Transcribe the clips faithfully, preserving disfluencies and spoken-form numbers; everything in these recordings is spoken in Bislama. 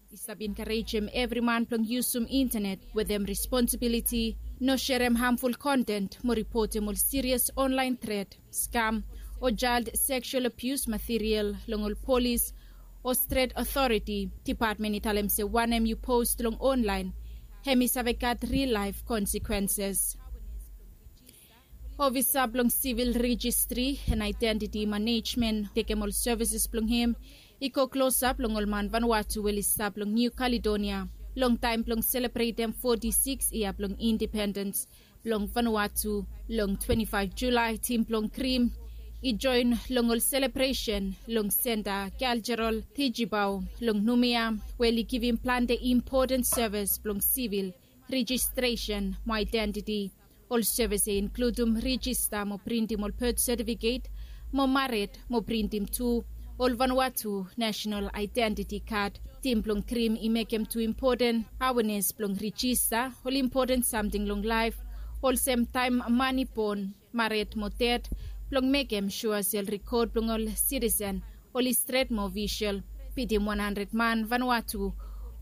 I stap enkarejem evri man blong yusum intanet wetem responsibiliti, no serem hamful kontent mo ripotem ol sirias onlaen tret, skam, o jael seksual abius material long ol polis o stret otoriti depatmen i talem se wanem yu post long onlaen hem i save gat ril laef konsekwenses. Ofisa blong sivil rejistri en aedentiti manejmen tekem ol sevises blong hem i go klosap long ol man vanwatu we oli stap long niu kaledonia long taem blong selebretem foti sikis yia blong independens blong vanwatu. Long twenti faef julae tim blong krim i joen long ol selebresen long senta kaljerol tijibao long numia we oli givim plante impoten sevis blong sivil rejistresen mo aedentiti. Ol sevis ya i inkludum rejista mo printim ol bet setifiket mo mared mo printim tu ol vanwatu nasenal aedentiti kad. Tim blong krim i mekem tu impoten awenes blong rejista ol impoten samting long laef olsem taem man i bon, mared mo ded, blong mekem sua se ol rekod blong ol sitisen oli stret mo ofisol. Bitim wan handred man vanwatu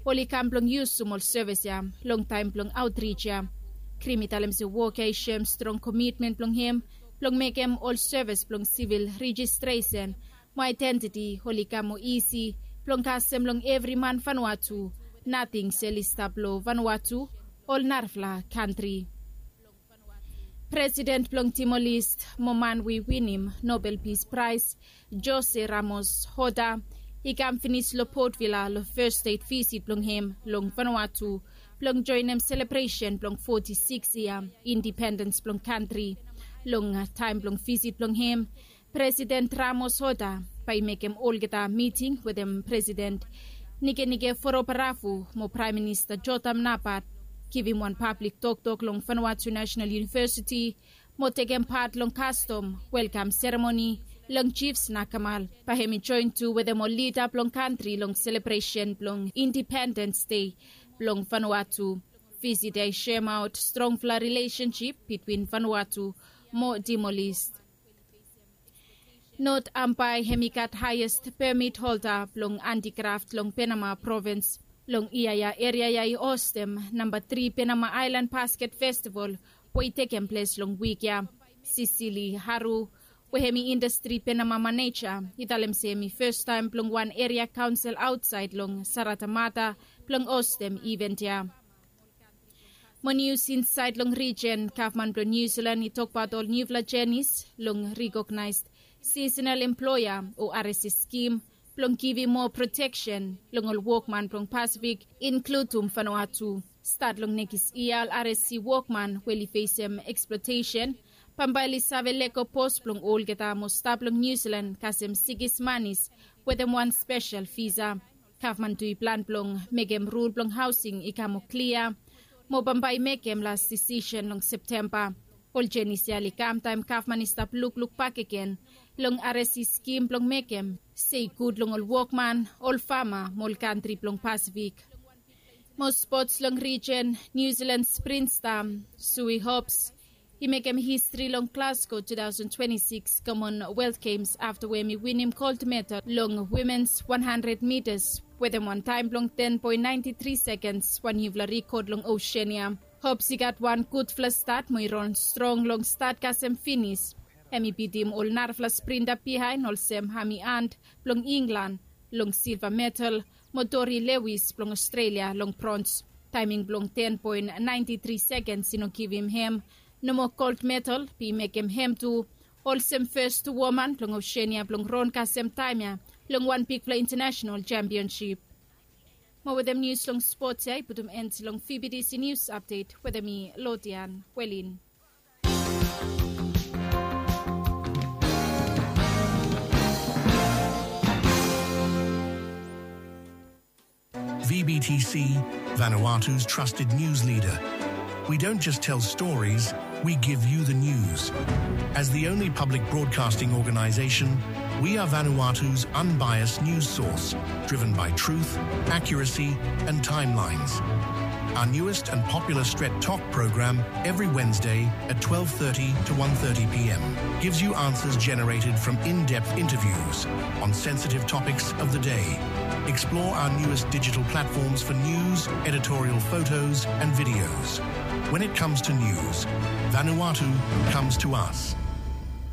oli kam blong yusum ol sevis ya long taem blong aotrij ya. Krim i talem se wok ya i soem strong komitmen blong hem blong mekem ol sevis blong sivil rejistresen mo aedentiti oli kam moa isi blong kasem long evri man vanwatu, nating se oli stap long vanwatu ol narafala kantri. Presiden blong timor lest mo man we i winim nobel pis praes, jose ramos hota, i kam finis long potvila long fes stet visit blong hem long vanwatu blong joenem selebresen blong foti sikis yia independens blong kantri. Long taem blong visit blong hem, presiden ramos hota bae i mekem olgeta miting wetem presiden nikenike forobarafu mo praem minista jotam nabat, givim wan pablik toktok long vanwatu nasenal yunivesiti mo tekem pat long kastom welkam seremoni long jifs nakamal. Bae hem i joen tu wetem ol lida blong kantri long selebresen blong independens dei blong vanwatu. Visit ya i soemaot strongfala rilesensip bitwin vanwatu mo timor lest. Not ambae hem i gat haes pemit holda blong antikraf long penama provins. Long yia ya eria ya i hostem namba tri penama aelan basket festival we i tekem ples long wik ya. Sisili haru we hem i indastri penama maneja i talem se hem i festaem blong wan eria kaonsel aotsaed long saratamata blong hostem iven ya. Mo nius insaed long rijen, gavman blong niu silan i tokbaot ol niufala jenis long rikognaes sisenal emploea o ares skim blong givim moa proteksen long ol wokman blong pasifik, inkludum vanua tu. Stat long nekis yia ol ares wokman we oli fesem eksplotesen bambae oli save lego pos blong olgeta mo stap long niu silan kasem sikis manis wetem wan spesel visa. Gavman tu i plan blong mekem rul blong haosing i kam moa klia mo bambae i mekem las disisen long septemba. Ol jenis ya oli kam taem gavman i stap lukluk bakegen long aresi skim blong mekem se i gud long ol wokman, ol fama mo ol kantri blong pasifik. Mo spots long rijen, niu silan sprinsta sui hops i mekem histri long glasgow two thousand twenty-six commonwealth games afta we hem i winim gold medal long wimens one hundred mitas wetem wan taem blong ten point ninety three sekens, wan niufala rikod long osenia. Hops i gat wan gudfala stat mo i ron strong long stat kasem finis. Hem i bitim ol narafala sprinta bihaen olsem hami ant blong inglan long silva medal mo tori lewis blong aostralia long brons. Taeming blong ten point ninety three sekens i no givim hem nomo gold medal be i mekem hem tu olsem fes tu woman blong osenia blong ron kasem taem ya long wan bigfala intanasenal jempionsip. Mo wetem nius long spots ya i putum en long vbtc nius apdet wetem mi lodian welin. V B T C, Vanuatu's trusted news leader. We don't just tell stories, we give you the news. As the only public broadcasting organization, We are Vanuatu's unbiased news source, driven by truth, accuracy, and timelines. Our newest and popular Stret Tok program every Wednesday at twelve thirty to one thirty p m gives you answers generated from in-depth interviews on sensitive topics of the day. Explore our newest digital platforms for news, editorial photos, and videos. When it comes to news, Vanuatu comes to us.